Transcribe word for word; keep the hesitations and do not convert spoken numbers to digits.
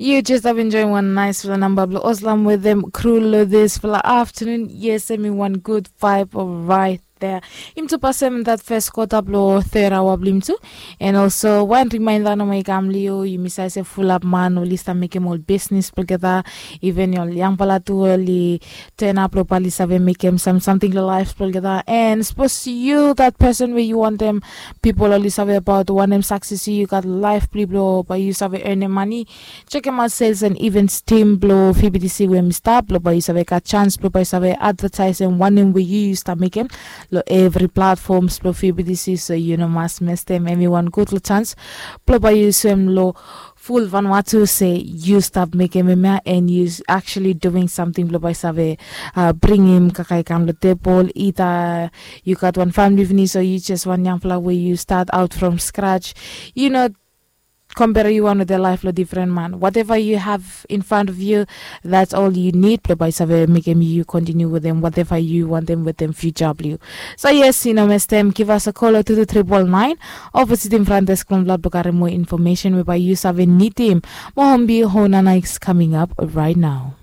You just have enjoying one nice fela namba blong Oslam with them crew lo this fela afternoon. Yes, I mean one good vibe right there. Im tu pasem that first quarter blong third hour blong im tu. And also one reminder no mai kam liu, you miss I say full up man oli start mekem ol business together. Even ol yangpala tu oli turn up lo pali save mekem some something lo life together. And suppose you that person where you want them people oli save about wanem success you got life bli blo bai you save earn money. Check him out sales and events team blo F B T C where mi start blo bai you save got chance blo bai you save advertise and wanem where you used to make him lo every platforms blo F B T C, so you know must miss them everyone good lo chance blo bai you swim lo full Vanuatu say you stop making him and you actually doing something blo bai save uh, bring him kakai kam lo table either you got one family finish or you just one young flower where you start out from scratch, you know, compare you one with the life lo different man. Whatever you have in front of you, that's all you need. Blo bai save make him you continue with them, whatever you want them with them future blue. So yes, you know, miss them. Give us a call to the triple nine. Opposite in front desk from blood book more information whereby you save need him. Mohombi Honana is coming up right now.